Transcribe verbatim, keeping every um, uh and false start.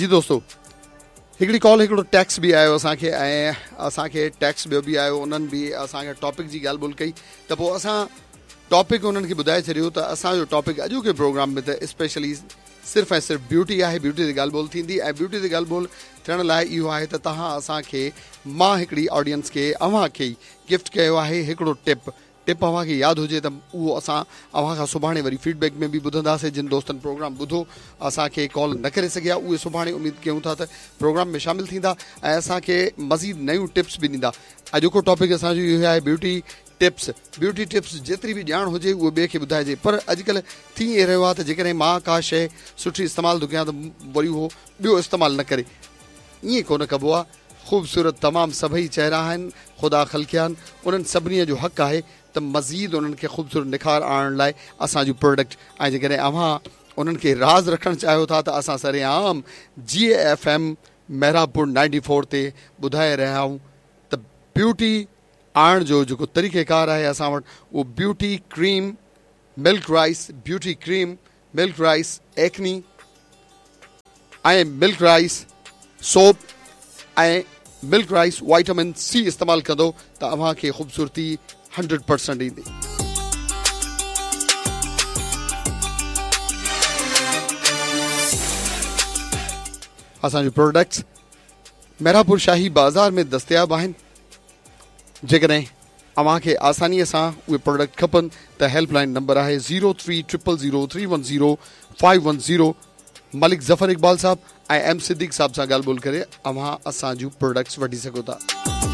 جي دوستو، هڪڙي ڪال، هڪڙو ٽيڪس به آيو اسان کي ۽ اسان کي ٽيڪس ٻيو به آيو. انهن به اسان کي ٽاپڪ جي ڳالهه ٻولهه ڪئي ته پوء اسان ٽاپڪ انهن کي ٻڌائي ڇڏيو ته اسان جو ٽاپڪ اڄوڪي پروگرام ۾ ته اسپيشلي صرف ۽ صرف بيوٽي آهي، بيوٽي تي ڳالهه ٻولهه ٿيندي ۽ بيوٽي تي ڳالهه ٻولهه ٿيڻ لاء اهو آهي ته توهان اسان کي، مان هڪڙي آڊينس کي اوهان کي ئي گفٽ ڪيو آهي هڪڙو ٽپ. ٽپ اوهان کي ياد هجي ته اهو اسان اوهان کان سڀاڻي وري فيڊ بيڪ ۾ به ٻڌنداسين. جن دوستن پروگرام ٻڌو، اسان کي ڪال نه ڪري سگهيا، اهي سڀاڻي اميد ڪيون ٿا ته پروگرام ۾ شامل ٿيندا ۽ اسان کي مزيد نيون ٽپس به ڏيندا. اڄوڪو ٽاپڪ اسان جو اهو آهي بيوٽي ٽپس. بيوٽي ٽپس جيتري به ڄاڻ هجي اهو ٻئي کي ٻڌائجي، پر اڄڪلهه ٿي ائين رهيو آهي ته جيڪڏهن مان ڪا شيء سٺي استعمال ٿو ڪيان ته وري اهو ٻيو استعمال نه ڪري. ائين ڪونه ڪبو آهي. خوبصورت تمام سڀئي چهرا آهن، خدا خلقيا آهن، انهن سڀني جو حق آهي ته مزيد انهن کي خوبصورت نکار آڻڻ لاء اسان جون پروڊڪٽ، ۽ جيڪڏهن اوهان انهن کي راز رکڻ چاهيو ٿا ته اسان سرعام جي F M Mehrabpur ninety four تي ٻڌائي رهيا آهيون ته بيوٽي آڻڻ جو جيڪو طريقيڪار آهي اسان وٽ اهو beauty cream milk rice, beauty cream milk rice acne ۽ milk rice soap ۽ milk rice vitamin C استعمال ڪندو ته اوهان کي خوبصورتي هنڊريڊ پرسنٽ ايندي. اسان جون پروڊڪٽس ميراپور شاهي بازار ۾ دستياب آهن. جيڪڏهن اوهان کي آسانيء سان اهي پروڊڪٽ کپن ته هيلپ لائن نمبر آهي zero three triple zero three one zero five one zero. Malik Zafar Iqbal صاحب ۽ ايم صديق صاحب سان ڳالهه ٻولهه ڪري اوهان اسان جون پروڊڪٽس وٺي سگهو ٿا.